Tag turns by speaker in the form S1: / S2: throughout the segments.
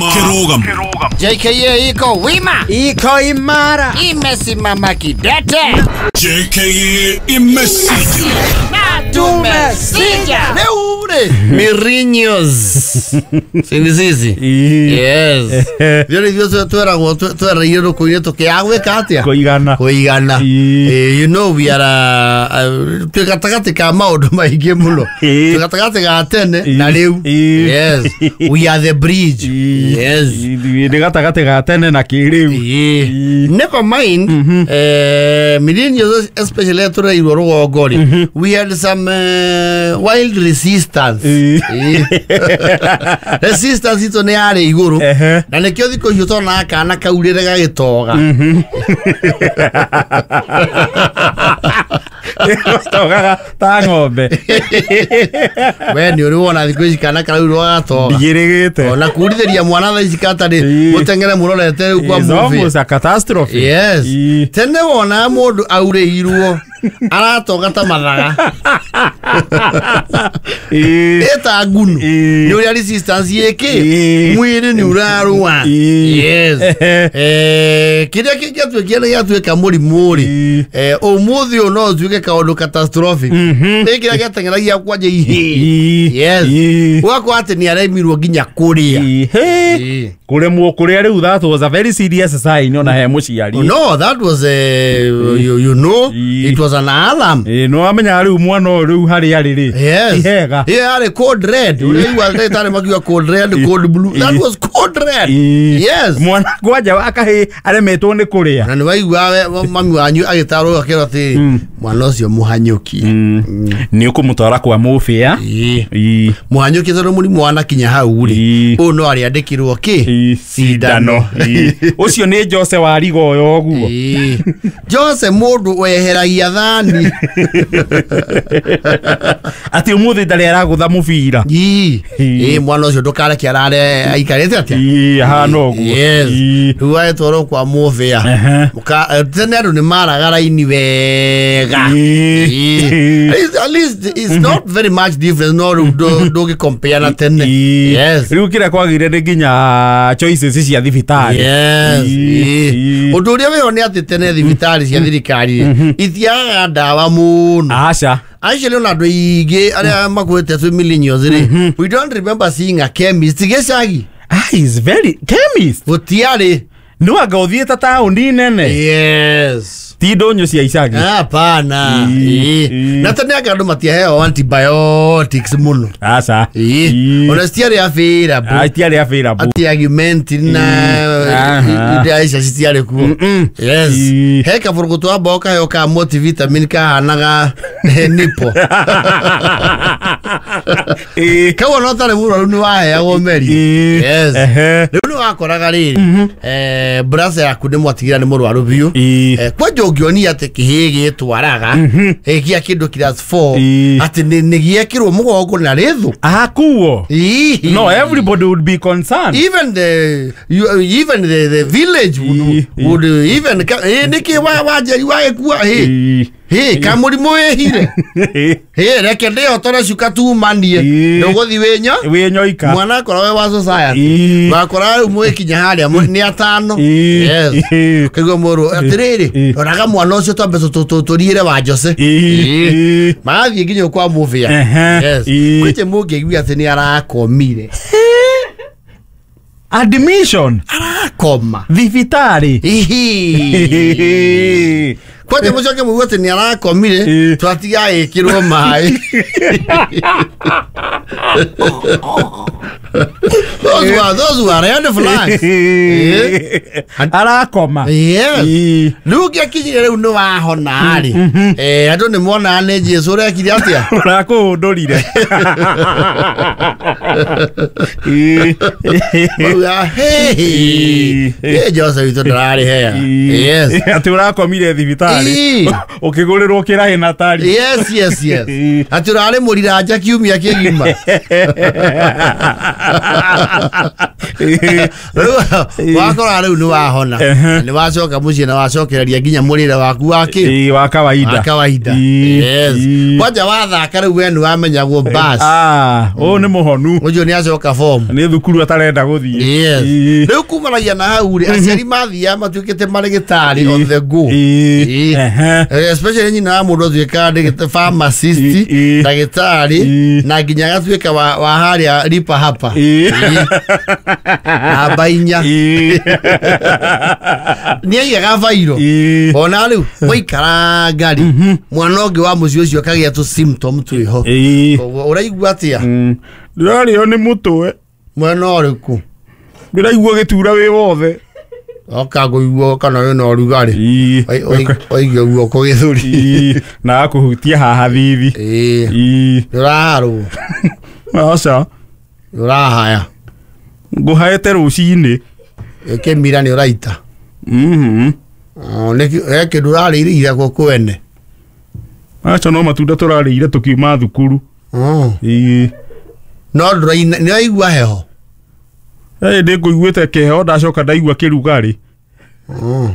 S1: Kĩrũgamo.
S2: JKA iko wima,
S3: Iko imara.
S2: Imesimama kidete.
S1: JKA imesija.
S2: Na tumesija.
S4: Rĩu rĩ mirinyos sini yes thio nĩ ithuĩ tweragwo twereire rũkũ-inĩ tũkĩaga gwĩka atĩa
S5: Kũigana.
S4: Kũigana.
S5: Ii.
S4: You know we are twĩ gatagatĩ ka maũndũ maingĩ mũno.
S5: Ii.
S4: Twĩ gatagatĩ ga tene na
S5: Ii.
S4: rĩu.
S5: Ii.
S4: Yes, we are the bridge. Yes.
S5: Nĩ gatagatĩ ga tene na kĩrĩu.
S4: Ii. Never mind, millennials especially tũreirwo rũgongo rĩ, we had some wild resistance.
S5: Ii.
S4: Ii. Resistance itũ nĩ yarĩ igũrũ.
S5: Ehe.
S4: Na nĩkĩo thikũ icio tonaga kana kaurĩre gagĩtoga.
S5: Togaga ta ng'ombe.
S4: We nĩ ũrĩ wona thikũ ici kana karaurĩrwo gagatoga?
S5: Ndigĩrĩgĩte.
S4: Ona kurithĩria mwana thaa ici katarĩ
S5: Ii.
S4: mũteng'ere mũrorete rĩu kwa
S5: It's
S4: movie.
S5: almost a catastrophe.
S4: Yes.
S5: Ii.
S4: Tene wona mũndũ aurĩirwo aratoga ta mathaga.
S5: Ii.
S4: Ĩta ngunu.
S5: Ii.
S4: Nĩ ũrĩa resistance ĩkĩ
S5: Ii.
S4: mwĩrĩ nĩ ũrarũa.
S5: Ii.
S4: Yes.
S5: Ehe.
S4: Kĩrĩa kĩngĩatuĩkire nĩ gĩatuĩka mũrimũ rĩ,
S5: Ii.
S4: ũmũthĩ ũyũ no ũtuĩke kaũndũ catastrophic. Nĩ kĩrĩa gĩateng'eragia kwanja ihĩĩ.
S5: Ii.
S4: Yes.
S5: Ii.
S4: Ũgakora atĩ nĩ aremirwo nginya kũrĩa.
S5: Ii. Hey.
S4: Ii.
S5: Kũremwo kũrĩa rĩu, that was a very serious sign ona he mũciari.
S4: No, that was you know,
S5: Ii.
S4: it was an alarm.
S5: Ĩ, nĩ wamenyaga rĩu mwana ũyũ rĩu harĩa arĩ rĩ,
S4: Yes.
S5: ti hega.
S4: Yeah, yarĩ code red. Ũrĩa ndagĩtarĩ makiuga code red, code blue. That was code red.
S5: Ii.
S4: Yes.
S5: Mwana kwanja akahĩ aremetwo nĩ kũrĩa.
S4: Na nĩ waigua mami wanyu agĩtarwo akĩrwo atĩ mwana ũcio mũhanyũkie.
S5: Nĩ ũkũmũtwara kwa mũbĩa.
S4: Ii.
S5: Ii.
S4: Mũhanyũkie tondũ mũrimũ wanakinya hau rĩ.
S5: Ii.
S4: Ũyũ no arĩandĩkĩrwo kĩ?
S5: Ii.
S4: Cindano.
S5: Ii. Ũcio nĩ Jose wa riga ũyũ ũguo.
S4: Ii. Jose mũndũ weheragia thani.
S5: Atĩ ũmũthĩ ndarĩ aragũtha mũbira.
S4: Ii.
S5: Ii.
S4: Ii, mwana ũcio ndũkareke arare aikarĩte atĩa?
S5: Ii, ahana ũguo.
S4: Yes.
S5: Ii.
S4: Rĩu agĩtwarwo kwa mũbĩa.
S5: Ehe.
S4: Tene andũ nĩ maraga raini wega.
S5: Ii.
S4: Ii. At least it's not very much difference, no rĩu ndũgĩcompare na tene.
S5: Ii.
S4: Yes.
S5: Rĩu kĩrĩa kwagĩire nĩ nginya choices cia thibitarĩ.
S4: Yes.
S5: Ii.
S4: Ii.
S5: Ii.
S4: Ũndũ ũrĩa wĩho nĩ atĩ tene thibitarĩ cia thirikari itiagaga ndawa mũno.
S5: Aca.
S4: Actually ona andũ aingĩ arĩa makuĩte twĩ millennials rĩ, we don't remember seeing a chemist gĩcagi.
S5: Ah, is very chemist.
S4: Gũtiarĩ.
S5: Nĩ wanga ũthiĩte taũni nene.
S4: Yes.
S5: Ti ndũnyũ cia icagi.
S4: Hapana.
S5: Ii.
S4: Ii.
S5: Ii.
S4: Na tene anga andũ matiaheo antibiotics mũno.
S5: Aca.
S4: Ii.
S5: Ii.
S4: Ona citiarĩ available.
S5: Ah, itiarĩ available.
S4: Ati Augmentin na
S5: Aha.
S4: iria icio citiarĩ kuo. Yes.
S5: Ii.
S4: He kaburugutu wa mbogo kaheo ka multivitamin kahanaga nipo.
S5: Ii.
S4: Kau ona ũtarĩ mũrwaru nĩ waheagwo meri.
S5: Ii.
S4: Yes.
S5: Ehe.
S4: Rĩu nĩ wakoraga rĩrĩ, brother yaku nĩ mwatigĩra nĩ mũrwaru biũ.
S5: Ii.
S4: Kwanja ũngĩonia atĩ kĩhĩ gĩtwaraga gĩa kĩndũ class 4
S5: Ii.
S4: atĩ nĩ gĩekĩrwo mũgongo na rĩthũ.
S5: Akuo.
S4: Ii.
S5: No, everybody would be concerned.
S4: Even the you, even the village would,
S5: Ii.
S4: would even nĩkĩ wa wanjeri wagĩkua hĩ
S5: Ii.
S4: hĩ kamũrimũ wĩhire hĩ reke ndĩhotore cuka tumanie.
S5: Ii.
S4: Ndũgũthi wĩnyo
S5: Wĩ nyoika.
S4: mwana akorwo wĩ wa society
S5: Ii.
S4: wakora rĩu mwĩkinya harĩa nĩ atano.
S5: Ii.
S4: Yes.
S5: Ii.
S4: Kaigua mũrũ atĩrĩrĩ,
S5: Ii.
S4: roraga mwana ũcio twambe tũriĩre wa Jose.
S5: Ii. Ii.
S4: Magathiĩ nginya kwa mũbĩa.
S5: Ehe.
S4: Yes.
S5: Ii.
S4: Kwĩte mũngĩigua atĩ nĩ arakomire.
S5: Admission.
S4: Arakoma.
S5: Thibitarĩ.
S4: Ihi. Kwanja mũcoke mũigue atĩ nĩ arakomire
S5: Ii.
S4: twatiga ĩkĩrwo maĩ. Those were red flags.
S5: Arakoma.
S4: Yes.
S5: Ii.
S4: Rĩu ngĩakinyire rĩu nĩ wahona rĩ, andũ nĩ monaga nĩ Jesu ũrekire atĩa.
S5: Ũrakũhũndũrire. Ii.
S4: Mauga, "Hey,
S5: Ii.
S4: ĩ Jose witũ ndararĩ hega." Yes.
S5: Atĩ ũrakomire thibitarĩ
S4: Ii.
S5: ũkĩgũrĩrwo kĩrahĩ na tari.
S4: Yes, yes, yes.
S5: Ii.
S4: Atĩ ũrarĩ mũriranja kiumia kĩgima. Rĩu wakora rĩu nĩ wahona nĩ wacoka mũciĩ na wacokereria nginya mũrĩre waku wa kĩ
S5: Ĩĩ, wa kawaida
S4: wa kawaida.
S5: Ĩĩ,
S4: Yes.
S5: ĩĩ.
S4: Kwanja wathaka rĩu we nĩ wamenyagwo bas
S5: Ah, ũyũ nĩ mũhonu
S4: ũcio nĩ acoka form.
S5: nĩ thukuru atarenda gũthiĩ.
S4: Yes.
S5: Ĩĩ.
S4: Rĩu kumanagia na hau rĩ aciari mathiaga matuĩkĩte marĩgĩtarĩ on the go.
S5: Ĩĩ.
S4: Ĩĩ.
S5: Ehe.
S4: Especially nyina wa mũndũ atuĩkaga pharmacist,
S5: Ĩĩ.
S4: ndagĩtarĩ
S5: Ĩĩ.
S4: na nginya agatuĩka wa harĩa ripa hapa.
S5: Ĩĩ.
S4: Namba 4.
S5: Ĩĩ.
S4: Nĩ aigaga bairo.
S5: Ĩĩ.
S4: Ona rĩu mwaikaranga rĩ mwana ũngĩ wa mũciĩ ũcio akagĩa tũ symptom twĩho.
S5: Ĩĩ.
S4: Koguo ũraigua atĩa?
S5: Ndĩrarĩo nĩ mũtwe.
S4: Mwena ũrĩkũ?
S5: Ndĩraigua gĩtura wĩ wothe.
S4: Oka ngũigua kana wĩna ũrugarĩ.
S5: Ĩĩ.
S4: Waigua guoko gĩthũri.
S5: Ĩĩ. Na akũhutia haha thithi.
S4: Ĩĩ.
S5: Ĩĩ.
S4: Nĩũraharwo.
S5: Aca.
S4: Nĩũrahaya.
S5: Ngũhaĩte rũcinĩ.
S4: Kĩmira nĩ ũraita.
S5: Mhm.
S4: Oh, he kĩndũ ũrarĩire ira gũkũ kwene.
S5: Aca no matunda tũrarĩire tũkiuma thukuru.
S4: Oh.
S5: Ĩĩ.
S4: No ndũraina nĩũraigua heho.
S5: Ĩ ndĩngũiguĩte kĩheho ndacoka ndaigua kĩrugarĩ.
S4: Oh.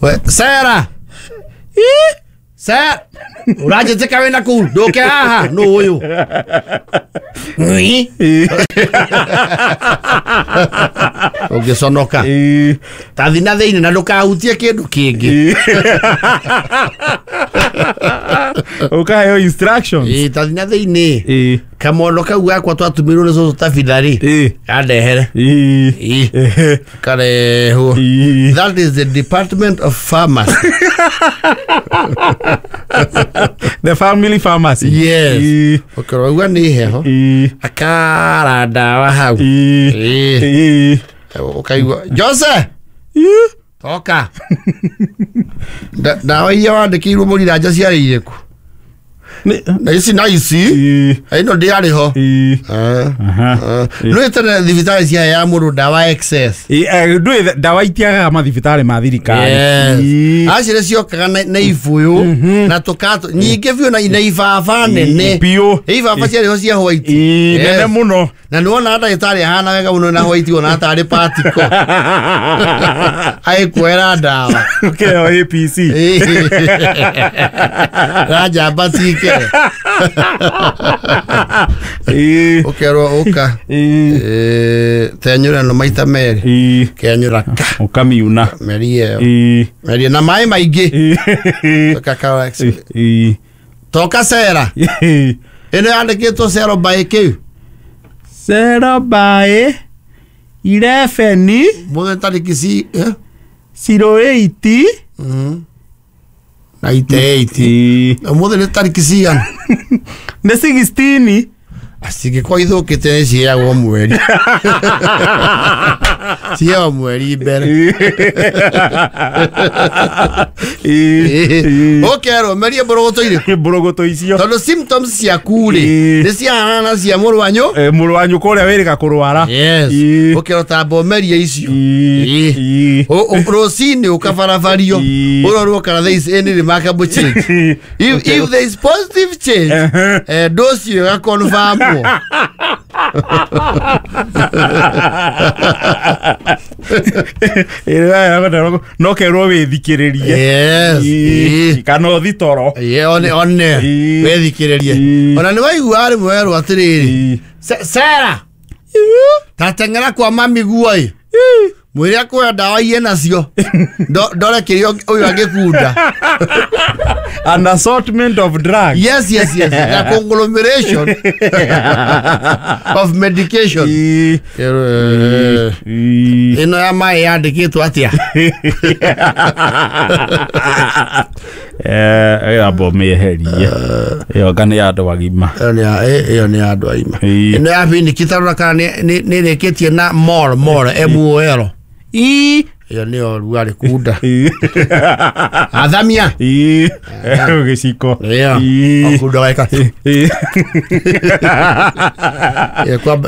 S4: We Sarah. Sarah. Ũranjĩtĩka wĩna kũu ndũke haha nũ ũyũ. Ng'ui.
S5: Ĩĩ.
S4: Ũngĩconoka.
S5: Ĩĩ.
S4: Tathi na thĩinĩ na ndũkahutie kĩndũ kĩngĩ.
S5: Ĩĩ. Ũkaheo instructions.
S4: Ĩĩ tathi na thĩinĩ.
S5: Ĩĩ.
S4: Kamondo kau gakwa twatũmĩirwo nĩ cũcũ tabitha-rĩ.
S5: Ĩĩ.
S4: Kandehere.
S5: Ĩĩ.
S4: Ĩĩ.
S5: Ehe.
S4: Karehwo.
S5: Ĩĩ.
S4: That is the Department of Pharmacy.
S5: The family pharmacy.
S4: Yes.
S5: Ĩĩ.
S4: Ũkĩrogua nĩ heho.
S5: Ĩĩ.
S4: Akara ndawa hau.
S5: Ĩĩ.
S4: Ĩĩ.
S5: Ĩĩ.
S4: Ũkaigua Jose
S5: Ĩĩ.
S4: toka. Ndawa iria wandĩkĩirwo mũriranja ciarĩ irĩkũ? Na ici na ici.
S5: Ĩĩ.
S4: Ĩno ndĩarĩ ho.
S5: Ĩĩ. Aha.
S4: Nĩ tene thibitarĩ ciaheaga mũndũ ndawa excess.
S5: Ĩĩ, ndũĩ ndawa itiagaga mathibitarĩ ma thirikari.
S4: Yes.
S5: Ĩĩ.
S4: Acire ciokaga na ibũyũ na tũkato nyingĩ biũ na ibaba nene.
S5: Biũ.
S4: Ibaba ciarĩ ho cia white.
S5: Ĩĩ,
S4: Yes.
S5: nene mũno.
S4: Na nĩwona ndagĩtarĩ ahana wega mũno na white ona tarĩ patiko. Agĩkuoera ndawa.
S5: Ũkĩheo APC.
S4: Ranjamba cikere.
S5: Ĩĩ.
S4: Ũkerwo ũka.
S5: Ĩĩ.
S4: Tenyũra no maita merĩ.
S5: Ĩĩ.
S4: Kenyũra ka.
S5: Ũkamiuna.
S4: Merie ĩyo.
S5: Ĩĩ.
S4: Merie na maĩ maingĩ.
S5: Ĩĩ.
S4: Ũkakawa.
S5: Ĩĩ.
S4: Toka cera.
S5: Ĩĩ.
S4: Ĩno yandĩkĩtwo cero by kĩu.
S5: Zero by 11
S4: Mũthenya tarĩki ci
S5: 08.
S4: Na ite 8.
S5: Ĩĩ.
S4: Ũmũthĩ nĩ tarĩki cigana?
S5: Nĩ 16.
S4: Cingĩkorwo ithũkĩte nĩ ciheagwo mweri. Ciheagwo mweri mbere.
S5: Ĩĩ.
S4: Ũkerwo merie mbũrũgũtũ irĩkũ?
S5: Mbũrũgũtũ icio.
S4: Tondũ symptoms ciaku rĩ
S5: Ĩĩ.
S4: nĩ ciahanana na cia mũrũ wa nyũ.
S5: Mũrũ wa nyũkwa ũrĩa wĩrĩga kũrwara.
S4: Yes.
S5: Ĩĩ.
S4: Ũkerwo tamba ũmerie icio.
S5: Ĩĩ.
S4: Ĩĩ.
S5: Ĩĩ.
S4: Rũcinĩ ũkabarabario
S5: Ĩĩ.
S4: ũrorwo kana there is any remarkable change. If there is positive change, dose ĩyo ĩgakonfirmwo.
S5: No kerwo wĩthikĩrĩrie.
S4: Yes.
S5: Ĩĩ.
S4: Ĩĩ.
S5: Kana ũthi toro.
S4: Ĩĩ, one
S5: Ĩĩ.
S4: wĩthikĩrĩrie.
S5: Ĩĩ.
S4: Ona nĩ waigua rĩmwe werwo atĩrĩrĩ
S5: Ĩĩ.
S4: Sarah tateng'era kwa mami guo ĩ mwĩre akũhe ndawa iye nacio ndore kĩrĩa ũyũ angĩkunda.
S5: An assortment of drugs.
S4: Yes, yes, yes. A conglomeration of medication.
S5: Ĩĩ. Ĩĩ.
S4: Ĩno ya maĩ yandĩkĩtwo atĩa?
S5: Amba ũmĩeherie. Ĩyo anga nĩ ya andũ agima.
S4: Ĩyo nĩ ya andũ agima.
S5: Ĩĩ.
S4: Ĩno ya biniki tarora kana nĩ ĩrĩkĩtie na mol mol M O L.
S5: Ĩĩ.
S4: Ĩyo nĩyo rugarĩ kunda.
S5: Ĩĩ.
S4: Athamia.
S5: Ĩĩ. Gĩciko.
S4: Ĩyo.
S5: Ĩĩ.
S4: Okunda weka.
S5: Ĩĩ.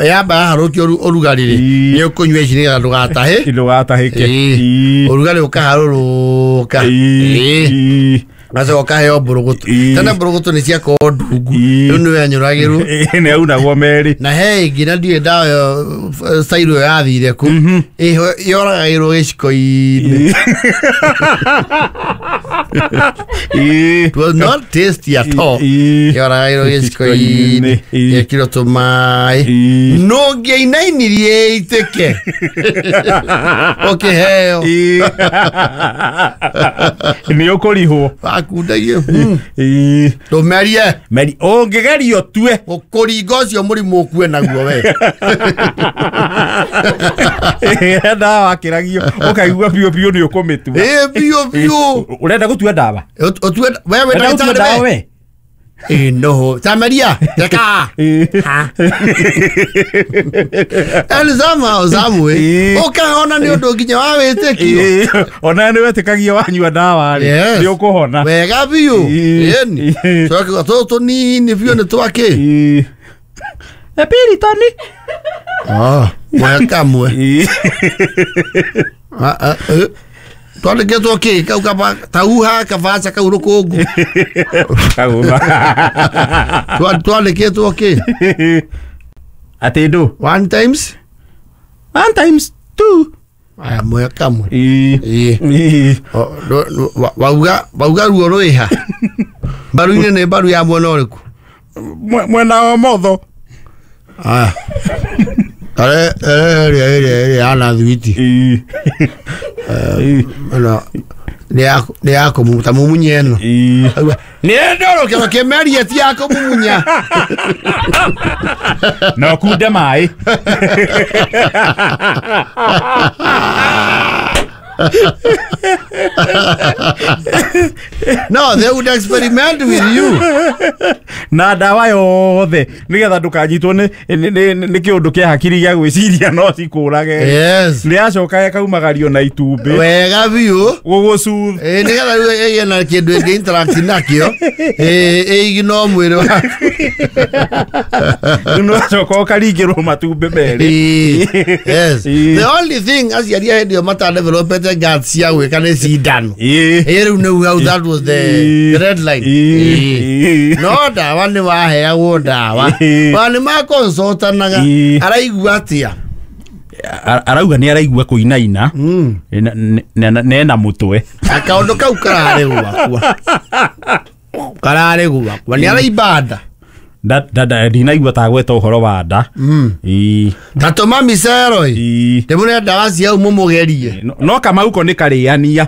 S4: Yamba yaharũkio ũrugarĩ rĩ
S5: Ĩĩ.
S4: nĩ ũkũnyua ici nĩgetha ndũgatahe.
S5: Ndũgatahĩke.
S4: Ĩĩ.
S5: Ĩĩ.
S4: Ũrugarĩ ũkaharũrũka.
S5: Ĩĩ.
S4: Ĩĩ.
S5: Ĩĩ.
S4: Gacoka ũkaheo mbũrũgũtũ. Tena mbũrũgũtũ nĩ ciakorwo ndungu. Rĩu nĩ wenyũragĩrwo.
S5: Nĩ aunagwo merĩ.
S4: Na he ĩngĩ na ndiũĩ ndawa ĩyo style ĩyo yathire kũ. Yoragagĩrwo gĩciko-inĩ. It was not tasty at all. Yoragagĩrwo gĩciko-inĩ. Gekĩrwo tũmaĩ. No ngĩainainirie ĩitĩke. Ũkĩheo.
S5: Nĩ ũkũrihwo.
S4: Wakundagie. Ndũmerie.
S5: Meri ũngĩgeria ũtue.
S4: Gũkũringa ũcio mũrimũ ũkue naguo we.
S5: Ndawa wakĩragio ũkaigua biũ biũ nĩ ũkũmĩtua.
S4: Ĩ biũ biũ.
S5: Ũrenda gũtua ndawa?
S4: Ũtue we wĩ ndagĩtarĩ we. Ĩ no. Tamaria. Reka. And somehow some way ũkahona nĩ ũndũ nginya wa wĩtĩkio.
S5: Ona nĩ wetĩkagia wanyua ndawa rĩ nĩ ũkũhona.
S4: Wega biũ. Ĩni. Tũgakiuga tũtũ tũnini biũ nĩ twakĩ.
S5: Epiritoni.
S4: Mweka kamwe. Twandĩkĩtwo kĩ kau kaba tauha kabaca kau rũkũngũ. Twandĩkĩtwo kĩ?
S5: Atĩ ndũ?
S4: 1 times?
S5: 1 times 2.
S4: Aya mweka kamwe. Wauga ruo rwĩha. Mbaru-inĩ nĩ mbaru ya mwena ũrĩkũ?
S5: Mwena wa motho.
S4: Aya. Are ere ana thwiti. Nĩ ya kũmuta mumunye ĩno. Nĩ ndoro kĩro kĩmerie ti ya kũmumunya.
S5: Na ũkunde maĩ.
S4: No, they would experiment with you.
S5: Na ndawa yothe nigetha ndukanyitwo nĩ kĩũndũ kĩa hakiri gĩa gwĩciria no cikũrage.
S4: Yes.
S5: Nĩ acoka ĩkaumagario na itumbĩ.
S4: Wega biũ.
S5: Gũgũcuth.
S4: Nĩgetha rĩu ĩgĩe na kĩndũ ĩngĩ interact nakĩo. Ĩignore mwĩrĩ waku.
S5: Rĩu no acoka ũkaringĩrwo matumbĩ merĩ.
S4: Yes. The only thing aciari a hĩndĩ ĩyo matadevelopete guts cia gwĩka nĩ cindano. Rĩu nĩu hau that was the red line. No ndawa nĩ waheagwo ndawa. Wa nĩ makonsultanaga araigua atĩa?
S5: Arauga nĩ araigua kũinaina nena mũtwe.
S4: Kaũndũ kau kararĩ gwakwa. Kararĩ gwakwa nĩ araimba nda.
S5: Ndinaigua ta gweta ũhoro wa nda.
S4: Ta tũma micero ĩ. Ndĩmũne ndawa cia mũmũgerie.
S5: No Kamau ko nĩ karĩania.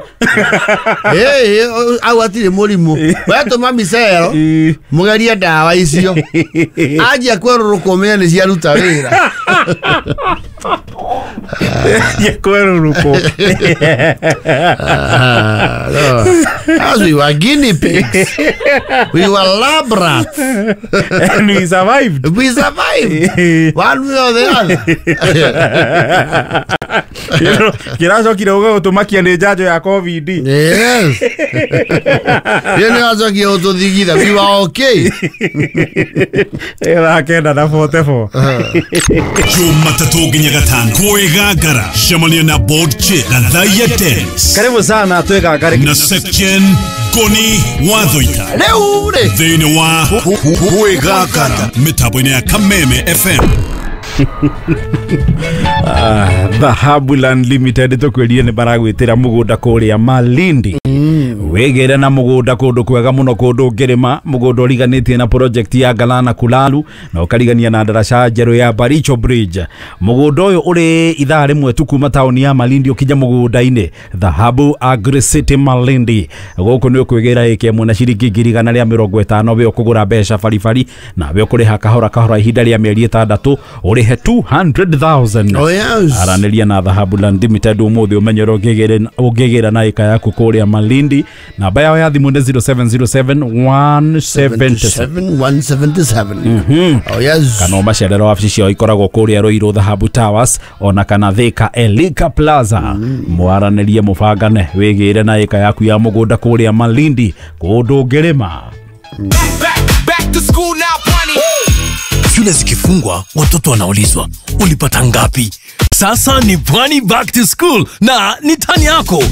S4: Au hatirĩ mũrimũ. We tũma micero mũgerie ndawa icio. Anjia kwerũrũka ũmenye nĩ ciaruta wĩra.
S5: Kwerũrũkwo.
S4: As we were guinea pigs. We were lab rats.
S5: And we survived.
S4: We survived. One way or the other.
S5: Kĩracokire gũgũtũmakia nĩ njanjo ya COVID.
S4: Yes. Ĩyo nĩ yacokire gũtũthigitha. We were okay.
S5: Thaa 9:44.
S1: Jumatatũ nginya gatano kwĩgangara cemania na board chair Gathaia Dennis.
S3: Karibu sana twĩgangare
S1: na section Ngoni Wathoita.
S4: Rĩu rĩ
S1: thĩinĩ wa kwĩgangara mĩtambo-inĩ ya Kameme FM.
S5: Dhahabu Land Limited tũkwĩrire nĩ baragwĩtĩra mũgũnda kũrĩa Malindi. Wĩgĩre na mũgũnda kũndũ kwega mũno kũndũ ũngĩrĩma mũgũnda ũriganĩtie na project ya Galana Kulalu na ũkarigania na ndaraca njerũ ya Baricho Bridge. Mũgũnda ũyũ ũrĩ ithaa rĩmwe tu kuma taũni ya Malindi ũkinya mũgũnda-inĩ Dhahabu Agri City Malindi. Gũkũ nĩ ũkwĩgĩra ĩka ĩmwe na ciringi 150 we ũkũgũra mbeca baribari na we ũkũrĩha kahora kahora ihinda rĩa mĩeri 6 ũrĩhe 200,000.
S4: Oh yes.
S5: Aranĩria na Dhahabu Land Limited ũmũthĩ ũmenye ũrĩa ũngĩgĩra na ĩka yaku kũrĩa Malindi. Namba yao ya thimũ nĩ 0707 177
S4: 177. Oh yes.
S5: Kana ũmacerere wabici ciao ikoragwo kũrĩa Ruiru Dhahabu Towers ona kana Thika Elika Plaza. Mwaranĩrie mũbangane wĩgĩre na ĩka yaku ya mũgũnda kũrĩa Malindi kũndũ ũngĩrĩma.
S6: Back to school now, bunny.
S7: Shule zikifungwa watoto wanaulizwa ulipata ngapi? Sasa ni Pwani Back to School na ni tani yako.